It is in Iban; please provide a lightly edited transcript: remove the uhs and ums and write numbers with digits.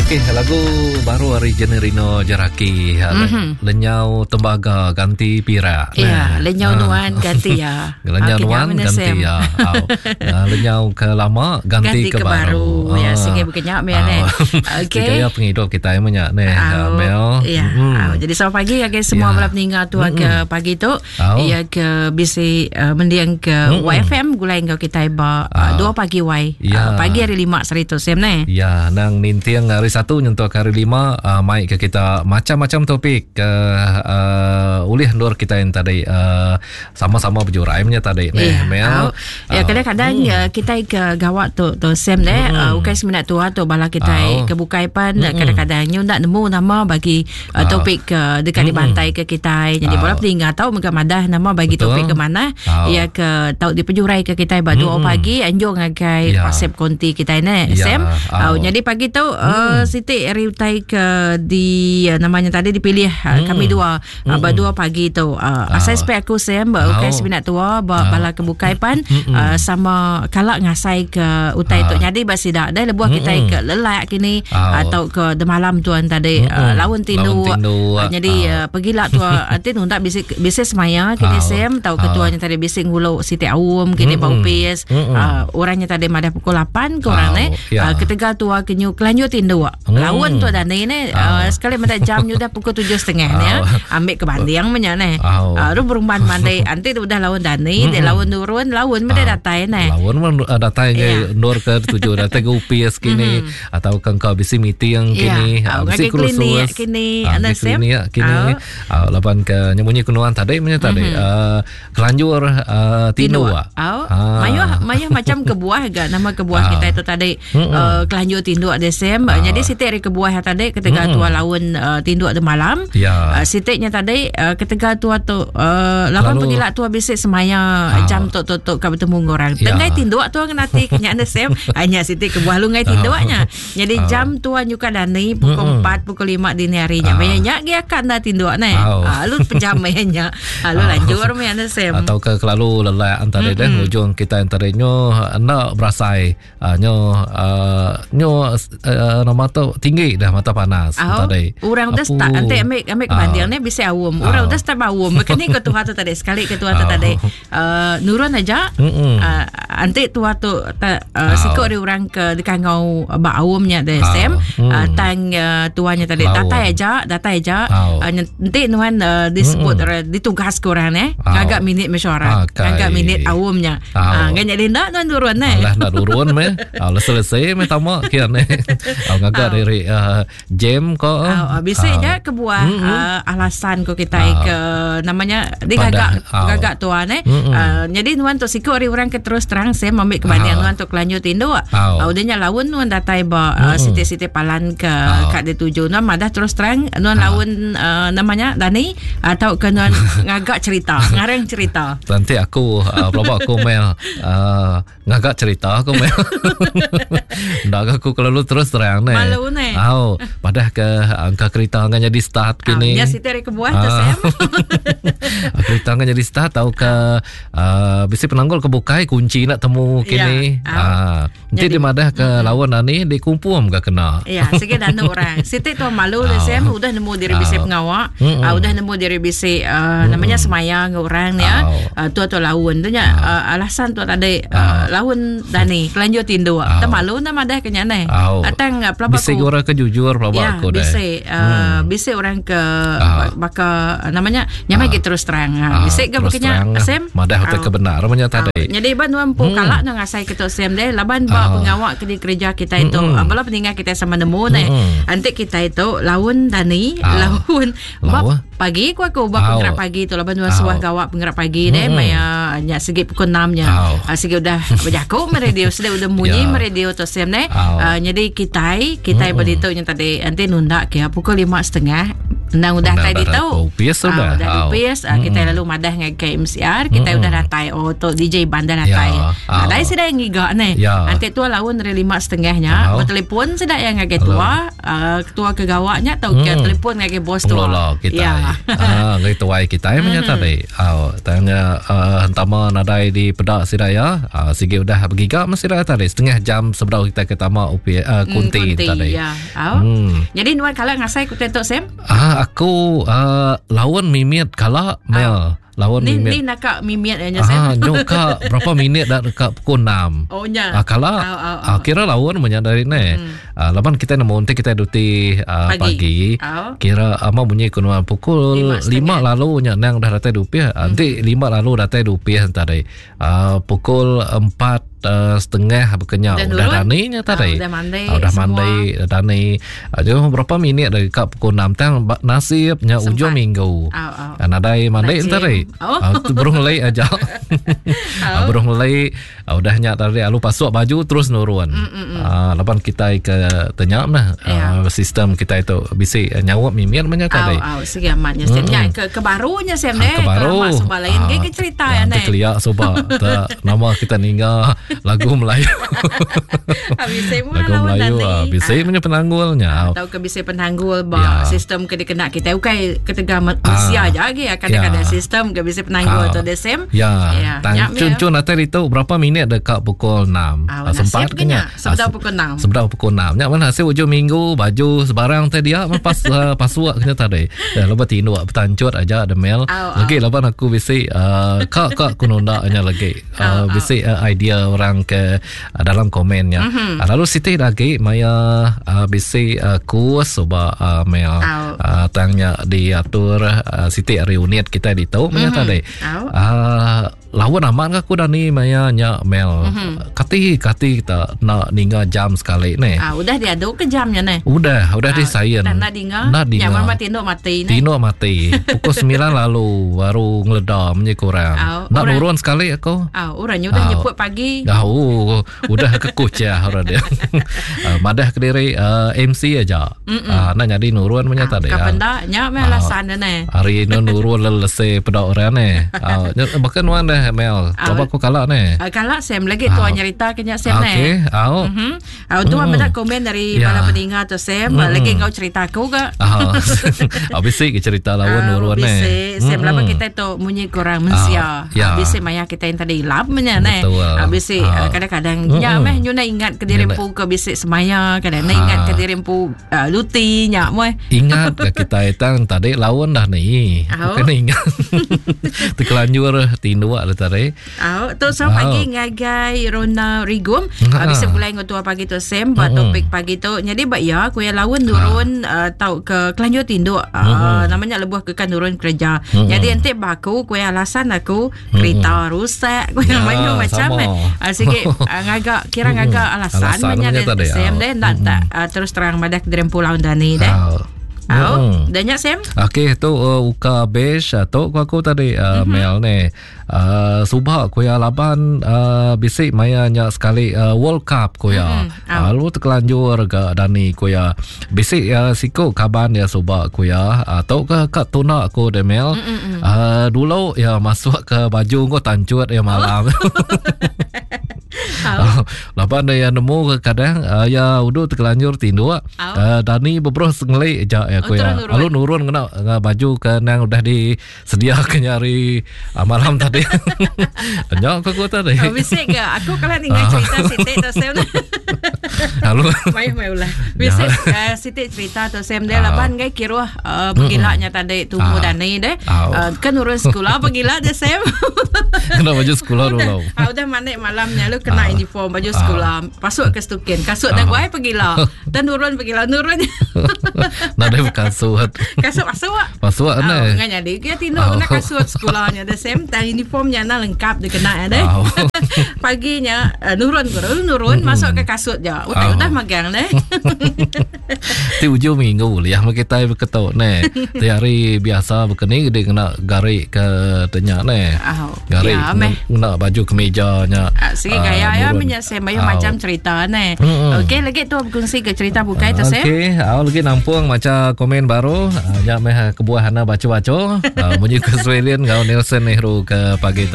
Okey, lagu baru ari Generino Jeraki. Mm -hmm. Lenyau tembaga ganti pirak. Ya, lenyau ah. nuan ganti ya. Lenyau nuan ganti ya. Ah, lenyau ke lama ganti, ganti ke, ke baru. baru. Ya, ah. sigi bukannya me ne. Okey. Gaya pengidup kita yang banyak ne, Mel. Ya. Mm. Jadi selamat pagi ngagai semua bala peninga tu mm. ke pagi tu. Iya ke bisi uh, mendiang ke mm YFM gulai enggau kita ba uh, 2 pagi Y. Ya. Uh, pagi hari 5 sehari tu Sam ne. Ya, nang ninting hari 1 nyentuk hari 5 uh, mai ke kita macam-macam topik ke uh, ulih endur kita yang tadi uh, sama-sama berjurai punya tadi ne. Ya, Mel. Ya kadang-kadang hmm. kita ke gawak tu tu Sam ne hmm. uh, ukai seminat tua tu bala kita oh. ke bukai pan hmm. kadang-kadang nyu nak nemu nama bagi uh, topik ke dekat mm dibantai ke kita jadi uh. bola peninga tau mega madah nama bagi Betul. topik ke mana uh. ya ke tau dipejurai ke kita ba 2 pagi anjung ngagai yeah. WhatsApp konti kita ne yeah. Sam uh. Uh, jadi pagi tu uh, mm. Siti ari utai ke di uh, namanya tadi dipilih uh, mm. kami dua uh, ba 2 pagi tu uh, asai spek aku Sam ba ukai semina tua ba bala ke bukai pan uh, sama kala ngasai ke utai tu nyadi ba sida dai lebuh kita ke lelak kini atau ke demalam tuan tadi uh, laun tindu, uh, jadi uh, pegila tu nanti nunda bisi bisi semaya kini Sam tau ketuanya tadi bisi ngulu siti aum kini ba upis uh, orangnya tadi madah pukul 8 ke orang eh uh, ketegal tua kenyu kelanjut tindu laun tu dan ni uh, sekali meda jam udah pukul 7.30 ni ya. Ambil ke banding menya ni. Uh, ru berumban mandi anti tu udah laun dani, dia laun turun, laun meda datai ni. Laun mun datai yeah. ndur ke tuju datai ke upis kini mm-hmm. atau ke engkau bisi meeting kini, yeah. bisi kursus kini, anda klinik kini. Uh, laban ke nyemunyi kenuan tadi menya tadi. Mm-hmm. Uh, kelanjur uh, tinu ah. Ah. Mayuh mayuh macam kebuah ga nama kebuah ah. kita itu tadi uh, kelanjur tinduk ada sem. Ah. Jadi siti hari kebuah tadi ketegal tua laun uh, tinduk de malam. Ya. Uh, sitiknya tadi uh, ketegal tua tu uh, lawan pegila tua bisik semaya ah. jam tu tu tu ka bertemu dengan orang. Ya. Tengai tinduk tua ngenati kenyak ada sem. Hanya siti kebuah lu ngai tinduknya. Jadi uh. jam tua nyuka dani pukul mm -mm. 4 pukul 5 dini hari nya. Uh. Maya nya gi akan dah tinduk ne. Uh. Uh, lu pejam maya nya. Lalu uh. lanjur maya anda sem. Atau ke kelalu lelak antara mm -mm. deh ujung kita antara nyo enda berasai uh, nyo uh, nyo uh, nama tu tinggi dah mata panas uh, tadi. Orang dah start nanti ambil ambil kebanding uh. ni bisa awam. Orang uh. dah start awam. Kini ke tuha tu tadi sekali ke tuha tu uh. tadi. Uh, nurun aja. Uh, anti tua tu ta, uh, siku ari orang ke dikangau ba aum nya deh Sam uh, tang uh, tuanya tadi datai aja datai aja uh, enti nuan uh, disebut mm ditugas ke orang eh ngaga minit mesyuarat ngaga minit aum nya uh, ngan jadi ndak nuan turun eh alah ndak turun meh uh, selesai meh tama kian eh ngaga diri uh, Jam ko. Uh, bisi uh, nya kebuah mm -hmm. uh, alasan ko kita uh, ke namanya digagak uh, gagak tuan eh. Mm -hmm. uh, jadi nuan tu siku ari orang ke terus terang saya ambil kebanding uh, nuan tu kelanjut indu. Uh, uh, udah nya laun nuan datai ba uh, mm -hmm. siti-siti palan ke uh, kat dituju nuan madah terus terang nuan uh, laun uh, namanya Dani atau ke nuan ngagak cerita, ngarang cerita. Nanti aku uh, pelaba aku mel uh, Ngaga cerita aku meh. Enda aku kelalu terus terang ne. Malu ne. Au, padah ke angka kereta ngan jadi start kini. Ya siti ari kebuah tu Sam. Kereta ngan jadi start tau ke uh, bisi penanggul ke bukai kunci nak temu kini. Ya. Ah, enti di madah ke lawan ani dikumpum ke kena. Ya, sigi danu orang. Siti tu malu le Sam udah nemu diri bisi pengawa, uh, udah nemu diri bisi uh, namanya semaya enggau orang ya. Uh, tu tu laun tu nya uh, alasan tu tadi uh, laun dani kelanjut tinduk. Uh. Tang malu enda madah ke nya neh. Atang uh, pelaba bisi orang ke jujur pelaba ya, aku deh. Bisi uh, hmm. bisi orang ke uh. baka namanya nya uh. terus terang. Uh. Bisi ke bukan nya Sam? Madah utai ke benar namanya tadi. Uh. Jadi ban nuan empu hmm. kala nang ngasai ke tu Sam deh laban ba uh. pengawa ke dikereja kita itu. Hmm. Uh, bala peninga kita sama nemu neh. Hmm. Antik kita itu laun dani uh. laun Ba pagi ku aku ba pengerak pagi tu laban nuan suah gawa pengerak pagi deh maya nya sigi pukul 6 nya. Sigi udah bejaku me radio sida udah munyi me radio tu sem neh. Nyadi kitai kitai ba ditu nya tadi enti nunda ke pukul 5.30. Endang udah datai ditu. Opis udah. Udah opis, kita lalu madah ngagai MCR, kita udah datai. Oh tu DJ Iban dah datai. Nadai sida yang ngiga neh. Enti tua laun hari 5:30 nya, betelefon sida yang ngagai tua, ketua ke gawa nya tauka telefon ngagai bos tua. Pengelola kitai. Ngagai tuai kitai meh nya tadi. Tang nya hentama nadai dipeda sida iya, sigi udah begiga meh sida tadi setengah jam sebedau kitai ke tama opis kunti tadi. Au. Hmm. Jadi nuan kala ngasai ku tu Sam? Ah aku laun mimit kala Mel. Laun ni, mimit. Ni naka mimit nya Sam. Ah nyu ka berapa minit dah dekat pukul 6. Oh nya. Ah kala. Au, au, au. Ah, kira laun menya dari ni. Hmm. Ah, laban kita nemu nanti kita duti pagi. pagi. Kira ama bunyi ku nuan pukul 5 lalu nya nang dah datai dupi. Hmm. Nanti 5 lalu datai dupi tadi. Pukul 4 setengah bekenya udah, udah dani nya tadi. Udah mandi. Udah mandi dani. Jauh berapa minit dari ka pukul 6 tang nasib nya ujung minggu. Oh, oh. Nadai mandi tadi. Oh. Burung lei aja. Oh. Burung lei udah nya tadi lalu pasuk baju terus nurun. Laban kita ke tanya mah sistem kita itu bisi nyawap mimit menya tadi. Au, sigi amat nya Sam. Nya ke, ke baru nya Sam ne. Ke baru. Ke suba lain ke ke cerita ya ne. Kelia suba ta nama kita ninga lagu Melayu. Bisi lagu Melayu bisi punya penanggulnya. Atau ke bisi penanggul ba sistem ke dikena kita ukai ketegal manusia aja lagi kadang-kadang sistem ke bisi penanggul tu deh Sam. Ya. Tang cun-cun atai itu berapa minit dekat pukul 6. Sempat ke nya? Sebedau pukul 6. Sebedau pukul 6. Nya mana hasil ujung minggu baju sebarang tadi dia pas pasuk kena tadi. Ya lepas tinduk bertancut aja demel. Lagi laban aku bisi ka ka ku nunda nya lagi. Bisi idea orang ke dalam komennya. Lalu siti lagi maya bisi kus ba mel tang nya diatur siti ari unit kita ditu maya tadi. Lawan amat aku dah ni maya nya Mel. Kati kati kita nak ninga jam sekali ni. Ah, udah diadu ke jamnya ni? Udah, udah ah, disain. Nak dinga. Nak dinga. Ya, mama tinduk mati ni. Tinduk mati. Pukul 9 lalu baru ngeleda menye kurang. Ah, nak nurun sekali aku. Ah, orang udah nyebut pagi. Ah, oh, udah kekucah orang dia. Madah ke diri MC aja. Nak jadi nurun punya tadi. Kapan dah? Nya meh alasan ni. Hari ni nurun lelese peda orang ni. Bahkan nuan dah Mel. Coba aku kalak ni. Kalak Sam lagi tuan nyerita ke nya Sam ni. Okey, au. Au tuan meda komen dari bala peninga tu Sam. Lagi enggau cerita aku ke. Ah. Bisi ke cerita lawan nurun ni. Bisi Sam lama kita tu munyi kurang mensia. Bisi maya kita yang tadi lap nya ni. Bisi kadang-kadang nya meh nyuna ingat ke diri empu ke bisi semaya kadang nak ingat ke diri empu luti nya meh. Ingat ke kita tang tadi laun dah ni. Bukan ingat. Terkelanjur tinduk dah tadi. Au tu so pagi ngagai Rona Rigum. Bisa pulai ngau tua pagi tu Sam ba topik pagi tu. Jadi ba ya ku ya laun nurun tau ke kelanjur tinduk namanya lebuh ke kan nurun kerja. Jadi enti ba aku ku ya alasan aku kereta rusak ku ya mayuh macam eh. Sigi ngaga kira ngaga alasan menya deh Sam deh ndak tak terus terang madah ke diri empu laun dani deh. Au, dah nya Sam? Okey tu uka beige tu ku aku tadi Mel ni. Suba ku ya laban bisi maya nya sekali World Cup ku ya. Lalu terkelanjur ga dani ku ya. Bisi siku kaban ya suba ku ya. Tu ke ka tuna ku deh Mel. Dulu ya masuk ke baju ko tancut ya malam. Laban dia nemu kadang ya udu terkelanjur tinduk. Dani beberuh sengelik ja ya ku ya. Lalu nurun kena baju ke nang udah disediakan nyari malam tadi. Nya ku aku tadi. Oh, bisi ke? Aku kalau ninga cerita Siti tu Sam. Lalu mai mai ulah. Bisi Siti cerita tu Sam dia laban ngai kiruh pegilanya tadi tumu dani deh. Kan nurun sekolah pegila deh Sam. Kena baju sekolah dulu. Udah mandi malamnya lu kena uniform baju sekolah. Pasuk ke stukin. Kasut dah guai pegila. Dan nurun pegila nurun. Nadai kasut. Kasut masuk. Masuk ne. Ngan jadi dia tinduk kena kasut sekolahnya the same time uniformnya na lengkap dia kena deh. Pagi nya uh, nurun ku nurun mm-hmm. masuk ke kasut ja. Utai oh. udah magang ne. Ti ujung minggu liah meh kitai beketu ne. Ti hari biasa bekeni gede kena gari ke tenya ne. Oh. Gari ya, kena baju kemeja nya. Uh, sigi gaya ya menya sem mayuh macam cerita ne. Mm-hmm. Okey lagi tu berkongsi ke cerita bukai tu sem. Okey, au lagi nampung maca komen baru. Uh, nya meh kebuah ana baca-baca. Uh, munyi ke Australian ngau Nelson Nehru ke pagi tu.